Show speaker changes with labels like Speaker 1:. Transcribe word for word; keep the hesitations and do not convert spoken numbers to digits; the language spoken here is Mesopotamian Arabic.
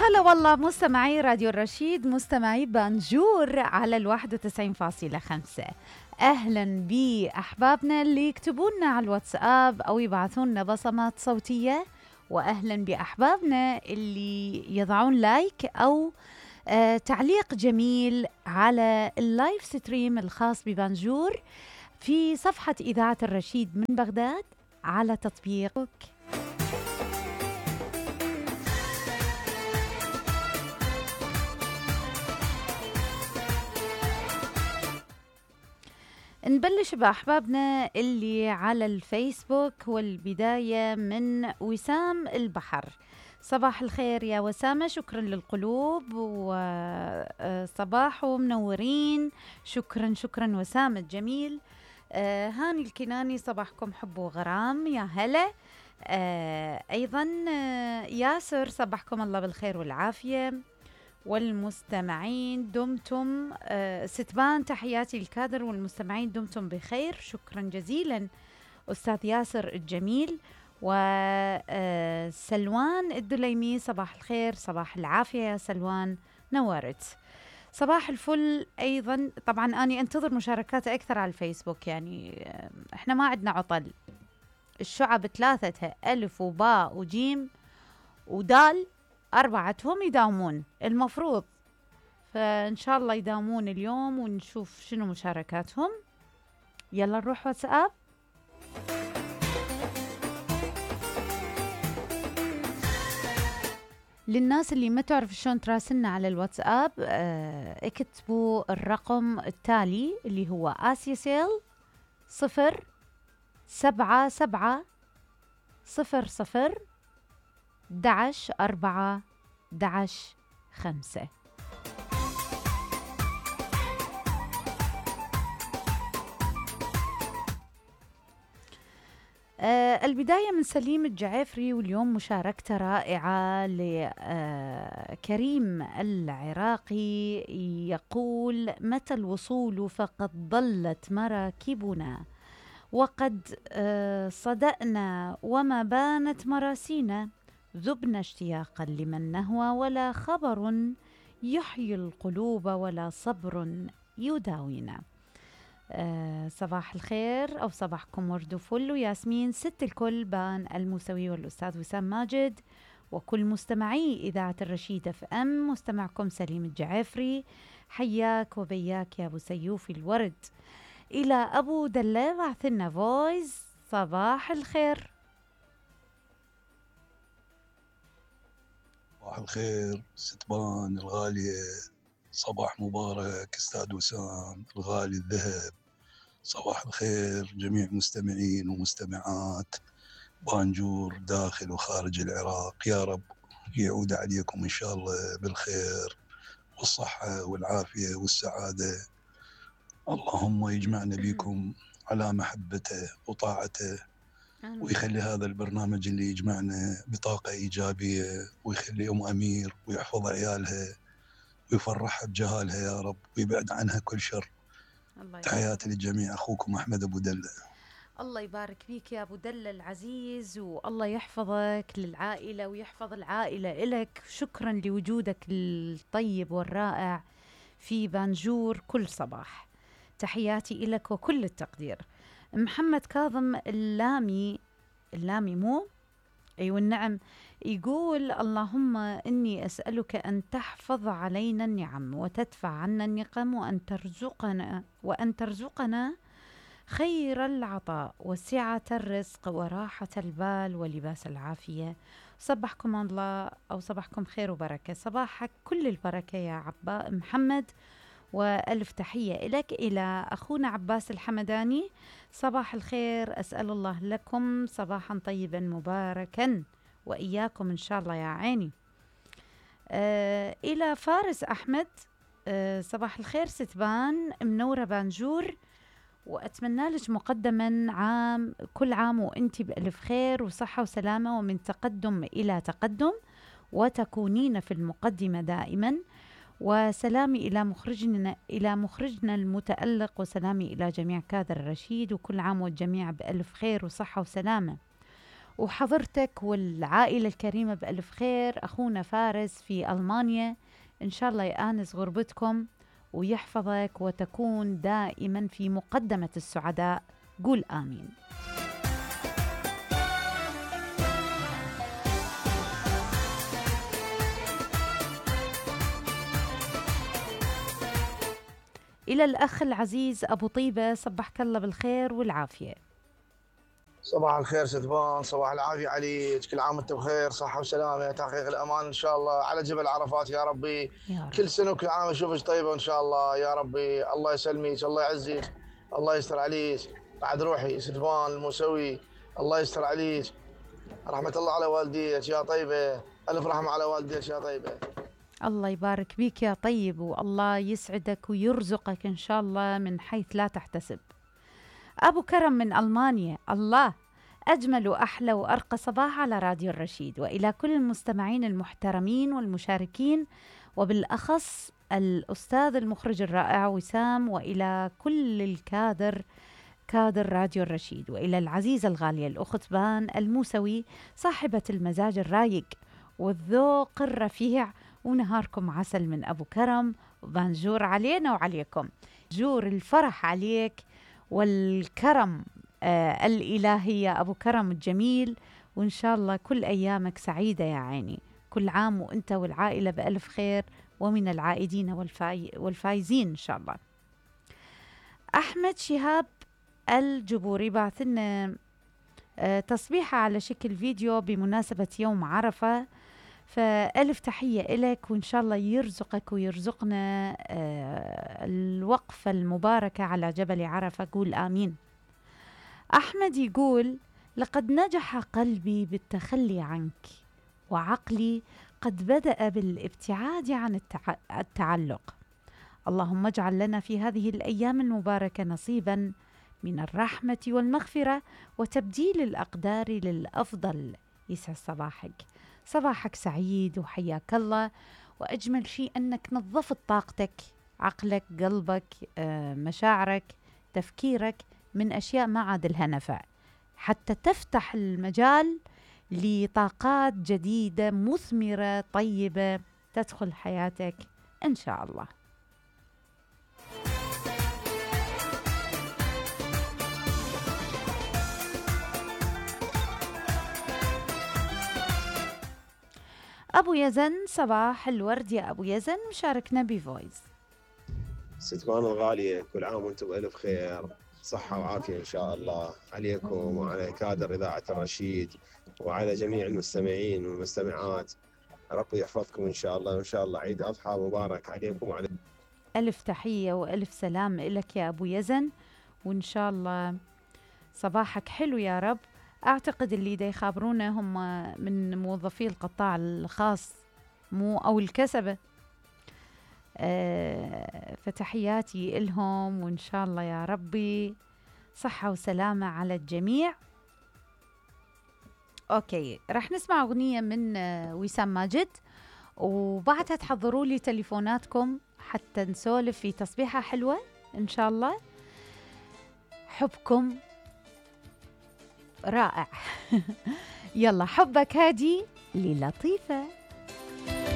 Speaker 1: هلا والله مستمعي راديو الرشيد، مستمعي بانجور على الواحد وتسعين فاصلة خمسة. أهلا بأحبابنا اللي يكتبونا على الواتساب أو يبعثونا بصمات صوتية، وأهلا بأحبابنا اللي يضعون لايك أو آه تعليق جميل على اللايف ستريم الخاص ببانجور في صفحة إذاعة الرشيد من بغداد على تطبيقك. نبلش بأحبابنا اللي على الفيسبوك، والبداية من وسام البحر. صباح الخير يا وسامة، شكرا للقلوب وصباح ومنورين. شكرا شكرا وسامة الجميل. آه هاني الكناني، صباحكم حب وغرام، يا هلا. آه أيضا آه ياسر، صباحكم الله بالخير والعافية. والمستمعين دمتم آه ستبان، تحياتي الكادر والمستمعين دمتم بخير، شكرا جزيلا أستاذ ياسر الجميل. وسلوان الدليمي، صباح الخير، صباح العافية يا سلوان، نورت. صباح الفل أيضا. طبعا أنا أنتظر مشاركات أكثر على الفيسبوك، يعني آه إحنا ما عندنا عطل. الشعب ثلاثتها ألف وباء وجيم ودال، أربعتهم يداومون المفروض، فإن شاء الله يداومون اليوم ونشوف شنو مشاركاتهم. يلا نروح واتساب. للناس اللي ما تعرف شلون تراسلنا على الواتساب، اه اكتبوا الرقم التالي اللي هو آسيسيل صفر سبعة سبعة صفر صفر دعش أربعة دعش خمسة. آه البداية من سليم الجعفري، واليوم مشاركته رائعة لكريم آه العراقي، يقول: متى الوصول فقد ضلت مراكبنا، وقد آه صدأنا وما بانت مراسينا، ذبنا اشتياقا لمن نهوى، ولا خبر يحيي القلوب ولا صبر يداوينا. آه صباح الخير، أو صباحكم ورد وفل وياسمين، ست الكل، بان الموسوي والأستاذ وسام ماجد وكل مستمعي إذاعة الرشيد اف ام. مستمعكم سليم الجعفري، حياك وبياك يا أبو سيوفي الورد. إلى أبو دلة بعثلنا فويس. صباح الخير.
Speaker 2: صباح الخير ستبان الغالية، صباح مبارك استاذ وسام الغالي الذهب. صباح الخير جميع مستمعين ومستمعات بانجور داخل وخارج العراق، يا رب يعود عليكم إن شاء الله بالخير والصحة والعافية والسعادة. اللهم يجمعنا بكم على محبته وطاعته، ويخلي هذا البرنامج اللي يجمعنا بطاقة إيجابية، ويخلي أم أمير ويحفظ عيالها ويفرحها بجهالها يا رب، ويبعد عنها كل شر. تحياتي للجميع، أخوكم أحمد أبو دلة.
Speaker 1: الله يبارك فيك يا أبو دلة العزيز، والله يحفظك للعائلة ويحفظ العائلة إلك. شكرا لوجودك الطيب والرائع في بانجور كل صباح. تحياتي إلك وكل التقدير. محمد كاظم اللامي، اللامي مو أيوة النعم، يقول: اللهم إني أسألك أن تحفظ علينا النعم وتدفع عنا النقم، وأن ترزقنا وأن ترزقنا خير العطاء وسعة الرزق وراحة البال ولباس العافية. صبحكم الله، أو صبحكم خير وبركة. صباحك كل البركة يا عبا محمد، وألف تحية إلك. إلى أخونا عباس الحمداني: صباح الخير، أسأل الله لكم صباحا طيبا مباركا، وإياكم إن شاء الله يا عيني. آه إلى فارس أحمد: آه صباح الخير ستبان، منورة بانجور، وأتمنى لك مقدما عام كل عام وأنت بألف خير وصحة وسلامة، ومن تقدم إلى تقدم، وتكونين في المقدمة دائما. وسلامي إلى مخرجنا إلى مخرجنا المتألق، وسلامي إلى جميع كادر الرشيد، وكل عام والجميع بألف خير وصحة وسلامة. وحضرتك والعائلة الكريمة بألف خير. أخونا فارس في ألمانيا، إن شاء الله يآنس غربتكم ويحفظك وتكون دائما في مقدمة السعداء. قول آمين. إلى الأخ العزيز أبو طيبة، صبحك الله بالخير والعافية.
Speaker 3: صباح الخير ستبان، صباح العافية عليك، كل عام وانت بخير، صحة وسلامة، تحقيق الأمان إن شاء الله على جبل عرفات يا ربي.
Speaker 1: يا رب.
Speaker 3: كل سنة وكل عام أشوفك طيبة وإن شاء الله يا ربي. الله يسلمك، الله يعزك، الله يستر عليك. بعد روحي ستبان الموسوي، الله يستر عليك. رحمة الله على والديك يا طيبة، ألف رحمة على والديك يا طيبة.
Speaker 1: الله يبارك بيك يا طيب، والله يسعدك ويرزقك إن شاء الله من حيث لا تحتسب. أبو كرم من ألمانيا، الله أجمل وأحلى وأرقى صباح على راديو الرشيد، وإلى كل المستمعين المحترمين والمشاركين، وبالأخص الأستاذ المخرج الرائع وسام، وإلى كل الكادر كادر راديو الرشيد، وإلى العزيزة الغالية الأخت بان الموسوي صاحبة المزاج الرايق والذوق الرفيع. ونهاركم عسل من أبو كرم، وبانجور علينا وعليكم. جور الفرح عليك والكرم آه الإلهي يا أبو كرم الجميل، وإن شاء الله كل أيامك سعيدة يا عيني. كل عام وإنت والعائلة بألف خير، ومن العائدين والفاي والفايزين إن شاء الله. أحمد شهاب الجبوري بعث لنا آه تصبيحة على شكل فيديو بمناسبة يوم عرفة، فألف تحية إلك، وإن شاء الله يرزقك ويرزقنا آه الوقفة المباركة على جبل عرفة. قول آمين. أحمد يقول: لقد نجح قلبي بالتخلي عنك، وعقلي قد بدأ بالابتعاد عن التع... التعلق. اللهم اجعل لنا في هذه الأيام المباركة نصيبا من الرحمة والمغفرة وتبديل الأقدار للأفضل. يسعد صباحك، صباحك سعيد وحياك الله. وأجمل شيء أنك نظفت طاقتك، عقلك، قلبك، آه، مشاعرك، تفكيرك من أشياء ما عاد لها نفع، حتى تفتح المجال لطاقات جديدة مثمرة طيبة تدخل حياتك إن شاء الله. أبو يزن، صباح الورد يا أبو يزن، مشاركنا بفويس.
Speaker 4: ستبان الغالية، كل عام وانتم بألف خير، صحة وعافية إن شاء الله عليكم وعلى كادر إذاعة الرشيد وعلى جميع المستمعين والمستمعات. ربي يحفظكم إن شاء الله، وإن شاء الله عيد أضحى مبارك عليكم وعلى
Speaker 1: ألف تحية وألف سلام لك يا أبو يزن، وإن شاء الله صباحك حلو يا رب. أعتقد اللي دا يخابرونا هم من موظفي القطاع الخاص مو أو الكسبة، أه فتحياتي إلهم، وإن شاء الله يا ربي صحة وسلامة على الجميع. أوكي، رح نسمع أغنية من وسام ماجد، وبعدها تحضروا لي تليفوناتكم حتى نسولف في تصبيحة حلوة إن شاء الله. حبكم رائع. يلا، حبك هادي للطيفة.